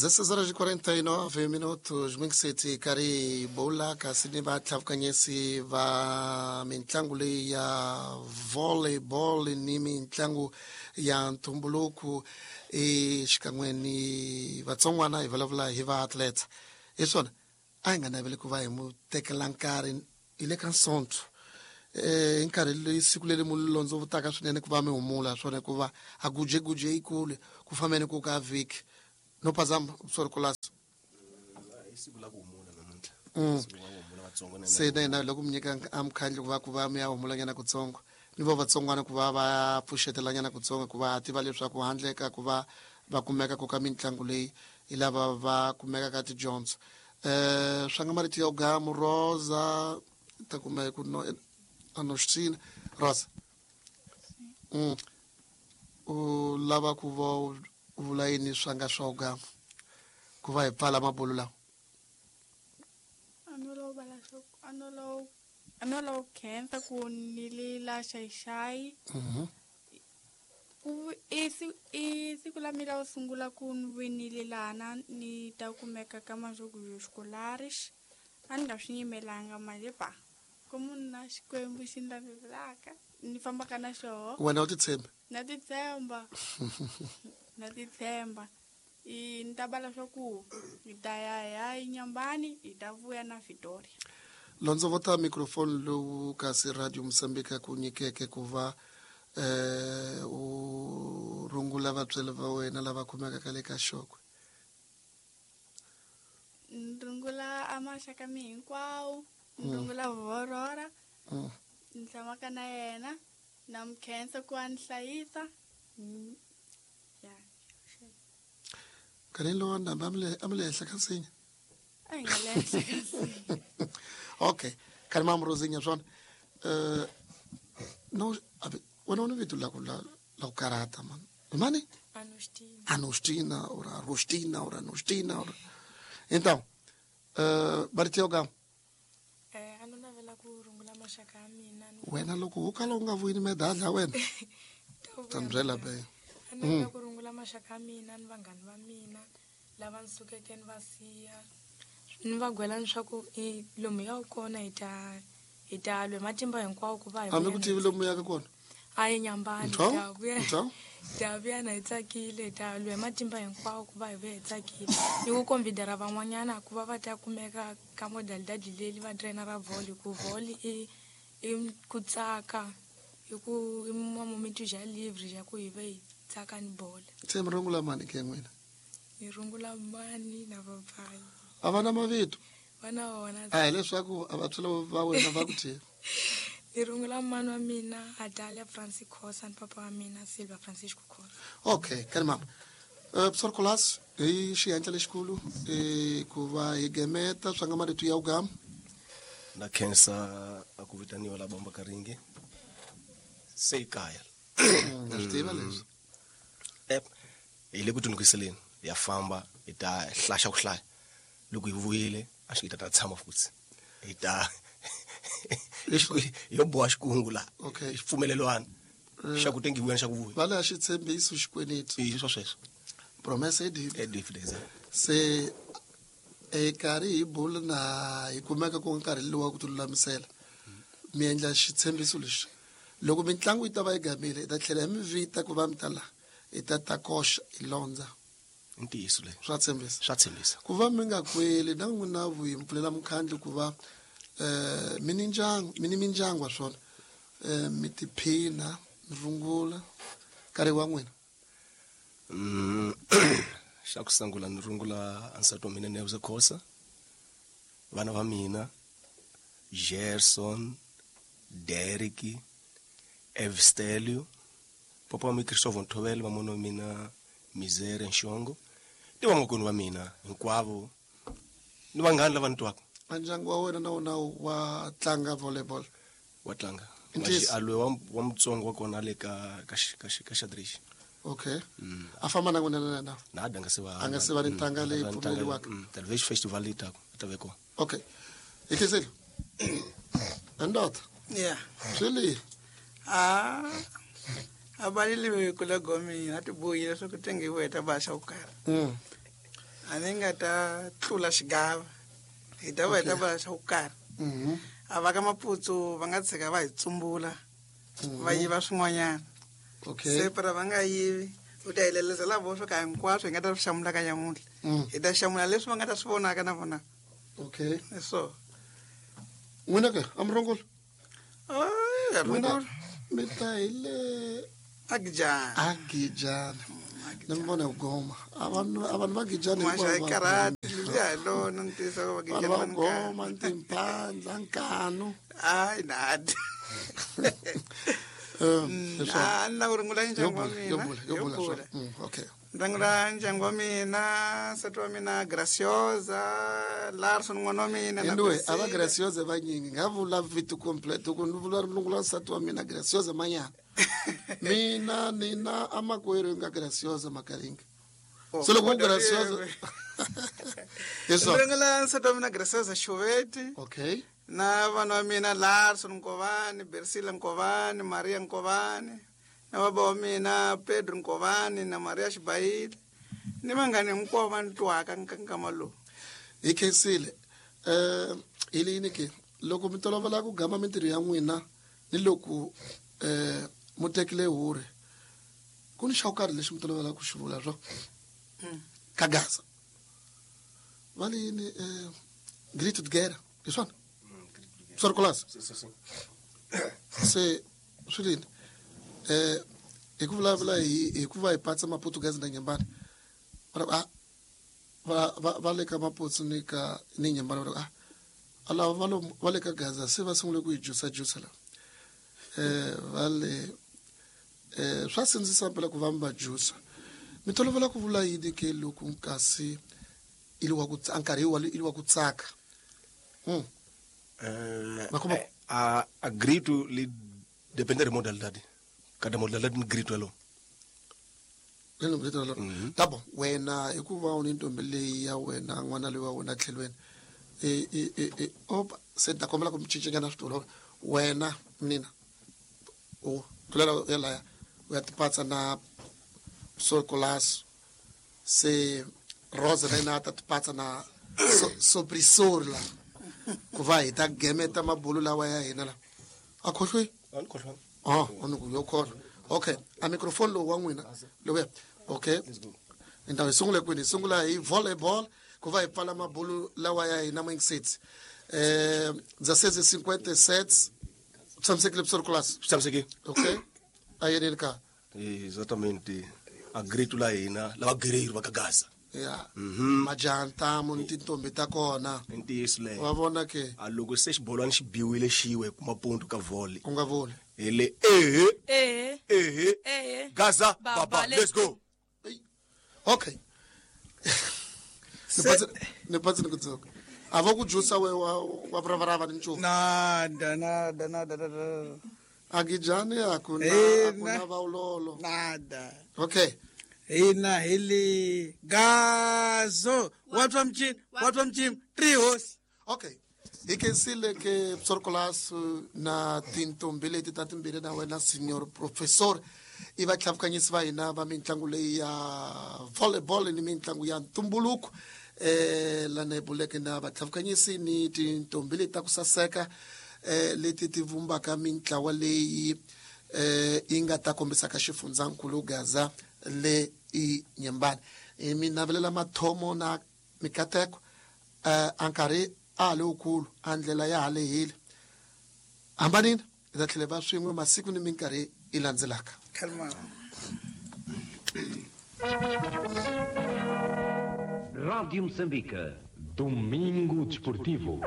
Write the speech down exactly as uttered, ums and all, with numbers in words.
dezesseis horas e quarenta e nove minutos Minxiti kari bola kasi ni vatlhavukanyesi va mintlangu leyi ya volleyball ni mintlangu ya ntumbuluko e xikan'we ni vatsongwana hi vulavula hi va athletes hi swona a hi nga naveli ku va hi mu tekela nkarhi hi le ka nsonto eh nkarhi leyi siku leri mu londzovutaka swinene ku va mi humula swona hikuva a gujeguje yikulu ku fambeni ku ka vhiki no phazama sorry kulasa i siku la ku humula namuntlha siku la ku humula vatsongo na se na hina loko mi nyika amkhandlu ku va ku va mi ya humulanyana kutsongo ni vo vatsongwana ku va va pfuxetelanyana kutsongo ku va tiva leswaku handle ka ku va va kumeka ku ka mitlangu leyi hi lava va kumeka ka tidyondzo um swa nga marito ya gamu Rosa ta kuma ku no Anostina Rosa mm. U lava ku va u vula yini swa nga swa ugamu ku va hi pfala mabulu lawa a no lava vala swa a no lava a no lava ku khensa ku ni li la xayixayi Mhm. ku i si- i siku la mina ro sungula ku ni winile lana ni ta kumeka ka Majogos Escolares a ni nga swi nyimelanga manje pa ku munhu na Xikwembu xi ni lavelaka ni fambaka na xoho wena u titshembi na titshemba na titshemba i ni ta bala swa ku hi ta ya hi ya eNyambani hi ta vuya na Victoria londzovota microphone lowu kasi Radio Mozambique ku nyikeke ku va eh u rungula vatswari va wena lava kumekaka le ka xokwe ni rungula a maxaka mi hinkwawo ni rungula Vorora Mm. ni tshamaka na yena na mi khensa ku a ni hlayisa Mm, ya nkarhini lowu ndhambi a mi le a mi le henhla ka nsinya a hi nga le henhla ka nsinya okay khani mamu Rosinha swona eh no abe wena u ni vito la ku la la ku karhata mani mani Anostina. Anostina or Arostina or Anostina or então eh marito ya gamu Eh, a no navela ku rungula maxaka ya mina ni wena loko wo kala u nga vuyini medali ya wena ta vuya ta ni byela medali. be A ni navela ku rungula maxaka ya mina ni vanghani va mina lava ni sukeke ni va siya ni va gwela leswaku i lomu ya kona hi ta hi ta lwa hi matimba hinkwawo ku va hi hambi vuya ku na tivi lomu yaka kona a yi Nyambani Ntho? hi ta vuya Ntho? hi ta vuya na hi tsakile hi ta lwa hi matimba hinkwawo ku va hi vuya hi tsakile ni ku convidera van'wanyana ku va va ta kumeka ka modalidade leli va trainer ra volley ku volley i i ku tsaka i ku i momento ja livre ja ku hi va hi tsaka ni bola se mi rungula mani ke n'wina ni rungula mani na papayi a va na mavito va na wona a hi leswaku a vatswari va wena va ku thini ni rungula mani wa mina Adalia Francis Khosa ni papa wa mina Silva Francisco Khosa okay kani mama uh, professor Colas hi xihenhla lexikulu eh, ku va hi gemeta swa nga marito ya ugamu na khensa a ku vitaniwa la bomba karinge se i kaya na swi tiva leswi Eh, hi le ku tinukiseleni ya famba hi ta hlaxa ku hlaya loko hi vuyile a xi hi ta ta tshama futhi hi ta yo boha xikungu la Okay. xipfumelelwana xa ku tengi vuya ni xa ku vuya va le a xitshembiso xikweneti i swa sweswo promesa e deep Eh, deep exactly. se e karhi hi bula na hi kumeka ku nkarhi lowu wa ku ti lulamisela mi endla xitshembiso lexi loko mitlangu yi ta va yi gamile hi ta tlhela hi mi vita ku va mi ta la hi ta ta koxa hi londza I ntiyiso leyi swa tshembisa swa tshembisa ku va mi nga kweli na n'wina vuyi mi pfulela mukhandlu ku va eh mi ni ndyangu mi ni mindyangu wa swona eh mi tiphina mi rungula nkarhi wa n'wina Mm, xa ku sungula ni rungula nsati wa mina Neuza Khosa vana va mina Gerson Derek Evstelio papa wa mi Christopher Nthovele vamona wa mina Mizere Nxongo ni vamakwenu va mina hinkwavo ni vanghani lava ni twaka a ndyangu wa wena na wona wa tlanga volleyball wa tlanga I ntiyiso. alwe wa wa mutsongo wa kona le ka ka xi- ka xi- ka xadrix okay a famba na n'wina na na na a nga se va A nga se va ni ntanga leyi pfumeleriwaka. television festival leyi taka a ta ve kona okay hi khensile ndoda Yeah. swi lihi Ah. A balile kula gomi na tibuyi leswaku tengiwe ta ba xa ku karhi. Mm. A ni nga ta tlula xigava hi ta va hi ta vula xa ku karhi. A va ka Maputsu va nga tshika va hi tsumbula va yiva swin'wanyana. Okay. Se para va nga yivi u ta hi leleza la vo swo ka hinkwaswo hi nga ta swi hlamula ka nyamuntlha. Hi ta hlamula leswi va nga ta swi vonaka na vona. Okay. So n'wina ke a mi rongolo? Ah, n'wina mi ta hi le Agijana. Agijana. Ni mi vona goma. A vanhu a vanhu va Gijana hinkwavo. Karate liya hi lona ntiyiso va Gijana va goma timphandla nkanu. Hayi nadi. Um, a ni lava ku rungula ndyangu wa mina. Yo bula, yo bula. Okay. Ndangula ndyangu wa mina, nsati wa mina Graciosa, Larson n'wana wa mina na Anyway, a va Graciosa vanyingi nga vula vito complete ku ni vula rungula nsati wa mina Graciosa Manyana. Mina nina amakwerhu nga Graciosa Makaringa. So loko Graciosa. Yes. Ndangula nsati wa mina Graciosa Xuveti. Okay. Na vana wa mina Larson Nkovani, Bersila Nkovani, Maria Nkovani, na baba wa mina Pedro Nkovani na Maria Xibayile ni vanghani hinkwavo va ni twaka nkama lowu. Hi khensile. Eh hi leyini ke loko mi tolovela ku gama mintirho ya n'wina ni loko eh mu tekile hure ku ni xa karhi lexi mi tolovela ku xi vula swo ka Gaza va leyini eh greet together hi swona Sorkolas. Se swi lini eh hi ku vulavula hi hi ku va hi patsa Maportuguese na Nyembani va va va va le ka Maputsu ni ka ni Nyembani va ah alava va va le ka Gaza se va sungule ku hi jusa jusa la eh va le eh swa sindzisa phela ku va mi va jusa mi tolovela ku vula yini ke loko kasi i li wa ku nkarhi wa i li wa ku tsaka. Mm. Uh, a a grito li depende de modalidade. Cada modalidade ni grito elo. Lelo grito elo. Tá bom. Wena hikuva u ni ntombi leyi ya wena n'wana loyi wa wena tlhelweni. E e e e opa se ta kombela ku mi cincanyana switulu. Wena mina u tlulela ya laya u ya tipatsa na Sorkolas se Rosa na yena ta tipatsa na Sobrisor la. Ku va hi ta gemeta mabulu lawa ya hina la a khohlwi a ni khohlwa ah ni ku yo khohlwa. Okay, a microphone lowu wa n'wina lowuya. Okay, ndhawu hi sungule kwini? Hi sungula hi volleyball ku va hi pfala mabulu lawa ya hina moingiseti eh dezesseis cinquenta sete tshamisekile Sorkolas. Tshamisekile. Okay, a yeneni ka exatamente a grito la hina lava guerreiro va ka Gaza. Ya majaha ntamu ni tintombi ta kona i ntiyiso leyo wa vona ke a loko se xibolwana xi biwile xiwe kuma ponto ka volley u nga vuli hi le ehe ehe ehe ehe Gaza baba let's go. Okay. Ni patsi ni ku dzoka a va ku jusa we wa wa vravarava ni nchumu nada nada nada nada Agijani akuna akuna vaulolo nada. Okay. Hina hi le Gazo wa twa mchini wa twa mchini three horse. Okay. Hi khensile ke Sorkolas na tintombi leti ta timbirhi na wena senior professor i vatlhavukanyisi va hina va mitlangu leyi ya volleyball ni mitlangu ya ntumbuluko eh lana hi buleke na vatlhavukanyisi ni tintombi leti ta ku saseka eh leti ti vumbaka mintlawa leyi eh yi nga ta kombisaka xifundzankulu Gaza le i Nyembani. Mi navelela mathomo na mikateko eh a nkarhi a ha le wukulu a ndlela ya ha lehile hambanini hi ta tlhela va swin'we masiku ni minkarhi yi landzelaka. Rádio Moçambique, Domingo Desportivo.